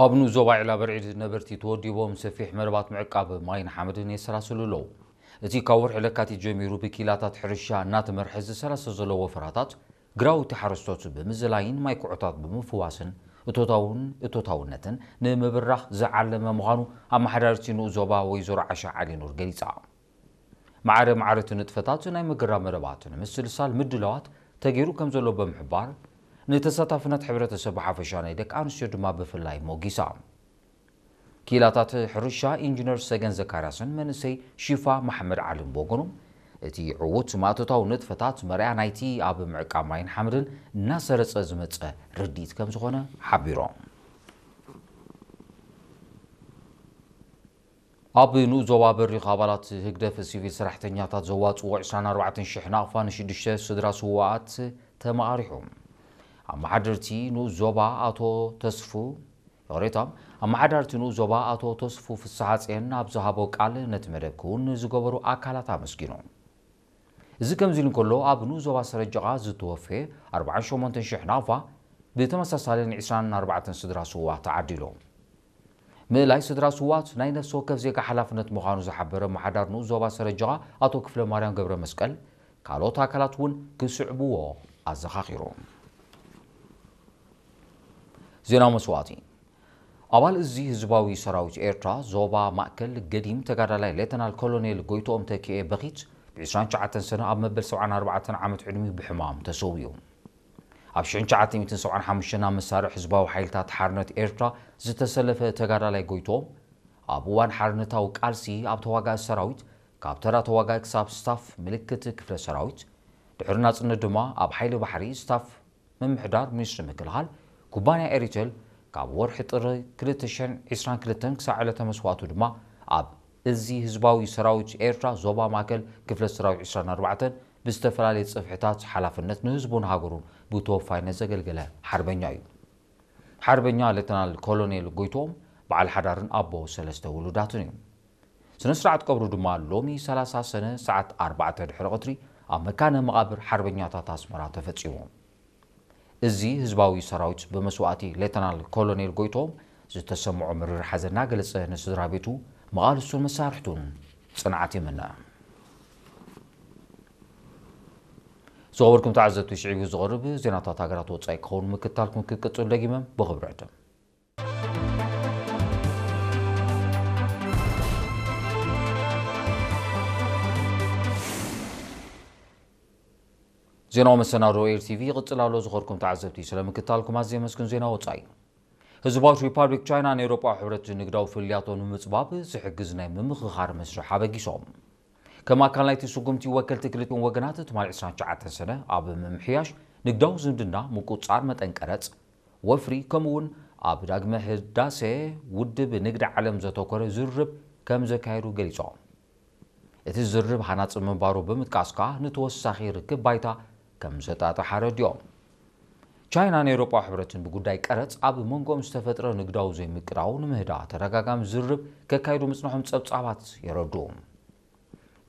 ኣብ ንኡስ ዞባ ዒላ በርዒድ ነበርቲ ተወዲቦም ሰፊሕ መረባት ምዕቃብ ማይን ሓመድን የሰላስሉ ኣለዉ። እቲ ካብ ወርሒ ለካቲት ጀሚሩ ብኪላታት ሕርሻ እናተመርሐ ዝሰላሰል ዘሎ ወፈራታት ግራውቲ ሓረስቶት ብምዝላይን ማይ ኩዖታት ብምፍዋስን እቶታውን እቶታውነትን ንምብራኽ ዝዓለመ ምዃኑ ኣመሓዳሪት ንኡስ ዞባ ወይዘሮ ዓሻ ዓሊኑር ገሊጻ። ማዕረ ማዕረ እቲ ንጥፈታት ናይ ምግራብ መረባት ንምስልሳል ምድላዋት ተገይሩ ከም ዘሎ ብምሕባር፣ ንተሳታፍነት ሕብረተሰብ ብሓፈሻ ናይ ደቂ ኣንስትዮ ድማ ብፍላይ ሞጊሳ። ክኢላታት ሕርሻ ኢንጂነር ሰገን ዘካርያስን መንእሰይ ሺፋ መሓመድ ዓልን ብወገኖም፣ እቲ ዕዉት ማእቶታዊ ንጥፈታት መርኣያ ናይቲ ኣብ ምዕቃብ ማይን ሓመድን እናሰረጸ ዝመጸ ርድኢት ከም ዝኾነ ሓቢሮም። ኣብ ንኡስ ዞባ በሪኽ ኣባላት ህግደፍ ሲቪል ሰራሕተኛታት ዘዋፅዎ ዕስራን ኣርባዕተን ሽሕ ናቕፋ ንሽዱሽተ ስድራ ስውኣት ተመቓሪሑ። ኣመሓደርቲ ንኡስ ዞባ ኣቶ ተስፉ፣ ይቕሬታ፣ ኣመሓዳርቲ ንኡስ ዞባ ኣቶ ተስፉ ፍስሓጽየን ኣብ ዝሃቦ ቃል ነቲ መደብ ክውን ንዝገበሩ ኣካላት ኣመስጊኑ። እዚ ከምዚ ኢሉ እንከሎ፣ ኣብ ንኡስ ዞባ ሰረጀቓ ዝተወፈየ ኣርባዓን ሸሞንተን ሽሕ ናቕፋ ብተመሳሳሊ ን ዕስራን ኣርባዕተን ስድራ ስውኣት ተዓዲሉ። ምእላይ ስድራ ስውኣት ናይ ነፍሲ ወከፍ ዜጋ ሓላፍነት ምዃኑ ዝሓበረ ኣመሓዳሪ ንኡስ ዞባ ሰረጀቓ ኣቶ ክፍለ ማርያም ገብረ መስቀል፣ ካልኦት ኣካላት እውን ክስዕብዎ ኣዘኻኺሩ። ዜና መስዋእቲ። ኣባል እዚ ህዝባዊ ሰራዊት ኤርትራ ዞባ ማእከል ገዲም ተጋዳላይ ሌተናል ኮሎኔል ጎይትኦም ተኪኤ በኺት ብ ዕስራን ትሽዓተን ሰነ ኣብ መበል ሰብዓን ኣርባዕተን ዓመት ዕድሚኡ ብሕማም ተሰዊኡ። ኣብ ሽሕን ትሽዓተ ሚእትን ሰብዓን ሓሙሽተን ኣብ መሳርዕ ህዝባዊ ሓይልታት ሓርነት ኤርትራ ዝተሰለፈ ተጋዳላይ ጎይትኦም፣ ኣብ እዋን ሓርነታዊ ቃልሲ ኣብ ተዋጋኢ ሰራዊት፣ ካብ ተራ ተዋጋኢ ክሳብ ስታፍ ምልክት ክፍለ ሰራዊት፣ ድሕሪ ናጽነት ድማ ኣብ ሓይሊ ባሕሪ ስታፍ ምምሕዳር ሚኒስትሪ ምክልኻል ኩባንያ ኤሪቴል፣ ካብ ወርሒ ጥሪ ክልተ ሽሕን ዕስራን ክልተን ክሳዕ ዕለተ መስዋእቱ ድማ ኣብ እዚ ህዝባዊ ሰራዊት ኤርትራ ዞባ ማእከል ክፍለ ሰራዊት ዕስራን ኣርባዕተን ብዝተፈላለየ ጽፍሕታት ሓላፍነት ንህዝቡን ሃገሩን ብተወፋይነት ዘገልገለ ሓርበኛ እዩ። ሓርበኛ ሌተናል ኮሎኔል ጎይትኦም በዓል ሓዳርን ኣቦ ሰለስተ ውሉዳትን እዩ። ስነ ስርዓት ቀብሩ ድማ ሎሚ ሰላሳ ሰነ ሰዓት ኣርባዕተ ድሕሪ ቀትሪ ኣብ መካነ መቓብር ሓርበኛታት ኣስመራ ተፈጺሙ። እዚ ህዝባዊ ሰራዊት ብመስዋእቲ ሌተናል ኮሎኔል ጎይትኦም ዝተሰምዖ መሪር ሓዘን እናገለጸ ንስድራ ቤቱ፣ መቓልስቱን መሳርሕቱን ጽንዓት ይምነ። ዝኸበርኩም ተዓዘብቲ፣ ሽዒቡ ዝቐርብ ዜናታት ሃገራት ወጻኢ ክኸውን ምክታልኩም ክቅጽል ደጊመ ብኽብሪ ዕድም። ዜናዊ መሰናዶ ኤር ቲቪ ይቕጽል ኣሎ። ዝኸበርኩም ተዓዘብቲ፣ ስለ ምክታልኩም ኣዝየ የመስግን። ዜና ወጻኢ። ህዝባዊት ሪፓብሊክ ቻይና ንኤውሮጳዊ ሕብረት ንግዳዊ ፍልልያቶ ንምጽባብ ዝሕግዝ ናይ ምምኽኻር መስርሕ ኣበጊሶም። ከም ኣካል ናይቲ ስጉምቲ፣ ወከልቲ ክልቲኦም ወገናት ትማሊ ዕስራን ትሽዓተን ሰነ ኣብ ምምሕያሽ ንግዳዊ ዝምድና፣ ምቁጽጻር መጠን ቀረጽ፣ ወፍሪ፣ ከምኡ'ውን ኣብ ዳግመ ህዳሴ ውድብ ንግዲ ዓለም ዘተኮረ ዝርርብ ከም ዘካየዱ ገሊጾም። እቲ ዝርርብ ሃናጺ ምንባሩ ብምጥቃስ ከኣ ንተወሳኺ ርክብ ባይታ ከም ዘጣጥሕ ኣረዲኦም። ቻይናን ኤውሮጳዊ ሕብረትን ብጉዳይ ቀረጽ ኣብ መንጎኦም ዝተፈጥረ ንግዳዊ ዘይምቅዳው ንምህዳእ ተደጋጋሚ ዝርርብ ከካይዱ ምጽንሖም ጸብጻባት የረድኡ።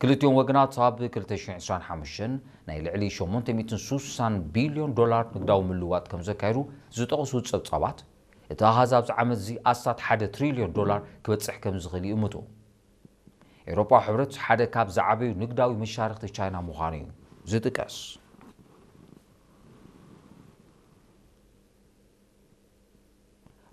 ክልቲኦም ወገናት ኣብ ክልተ ሽሕን ዕስራን ሓሙሽተን ናይ ልዕሊ ሸሞንተ ሚእትን ሱሳን ቢልዮን ዶላር ንግዳዊ ምልውዋጥ ከም ዘካየዱ ዝጠቕሱ ጸብጻባት፣ እቲ ኣሃዝ ኣብዚ ዓመት እዚ ኣስታት ሓደ ትሪልዮን ዶላር ክበጽሕ ከም ዝኽእል ይእምቱ። ኤውሮጳዊ ሕብረት ሓደ ካብ ዝዓበዩ ንግዳዊ መሻርኽቲ ቻይና ምዃኑ እዩ ዝጥቀስ።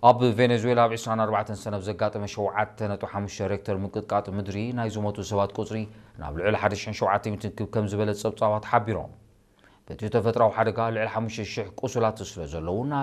ኣብ ቬኔዙዌላ ኣብ ዕስራን ኣርባዕተን ሰነ ዘጋጠመ ሸውዓተ ነጥቢ ሓሙሽተ ሬክተር ምንቅጥቃጥ ምድሪ ናይ ዝሞቱ ሰባት ቁጽሪ ናብ ልዕሊ ሓደ ሽሕን ሸውዓተ ሚእትን ክብ ከም ዝበለ ጸብጻባት ሓቢሮም። በቲ ተፈጥራዊ ሓደጋ ልዕሊ ሓሙሽተ ሽሕ ቁሱላት ስለ ዘለዉ፣ ናይ